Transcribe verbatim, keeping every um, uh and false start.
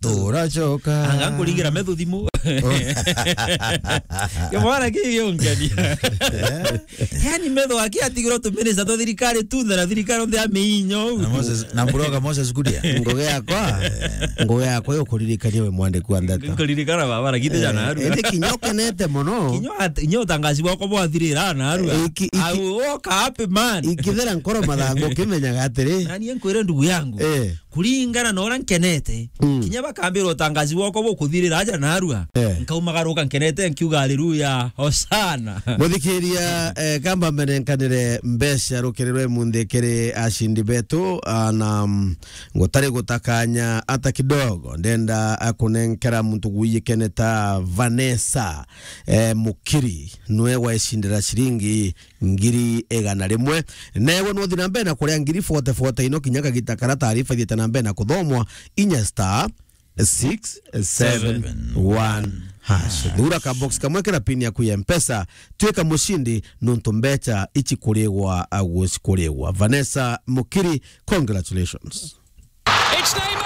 Turacoka. Anga nkuringira metho thimu. Kimwana kii giungenia. Yani metho aki atigirwo tuminista twa thirikari tu, na thirikari onthe ya miinyo. Na Moses, na broga Moses Kuria. Ngugi yakwa, ngugi yakwa yo kuririkania we mwandiki wa ndeto. Nkuririkana baba, na giti jana aru. Indi kinya ukenete mono. Kinya at-, kinya utangazi bwako bwathirira na aru. Eh, iki-, iki-, Au, woka happy man. Ikithera nkoro mathangu, ukimenyaga atiri. Nani nkwire ndugu yangu? Eh. Kuringana na uria nkenete, mm, kinya bakambira utangazi bwako bukuthirira aja narua, eh, nkaumagaruka nkenete nkiuga, "Haleluya, hosana." Muthikiria, eh, kamba menenkanire mbeca rukiri rwe munthi kiri acindi betu, ah, na, mm, ngutari gutakanya ata kidogo, ndenda, ah, kunenkera muntu guyikene ta Vanessa, eh, Mukiri, nwe waicindira ciringi ngiri igana rimwe. Newe nuthi na mbere na kuria ngiri forty forty ino kinya kagita kara taarifa ithiite na mbere na kuthomwa, inya star six seven one hash. Thura ka box kamwe kira pin yaku ya Mpesa, twika mucindi nuntu mbeca ici kurigwa, ah, gucikurigwa. Vanessa Mukiri, congratulations. It's Neymar!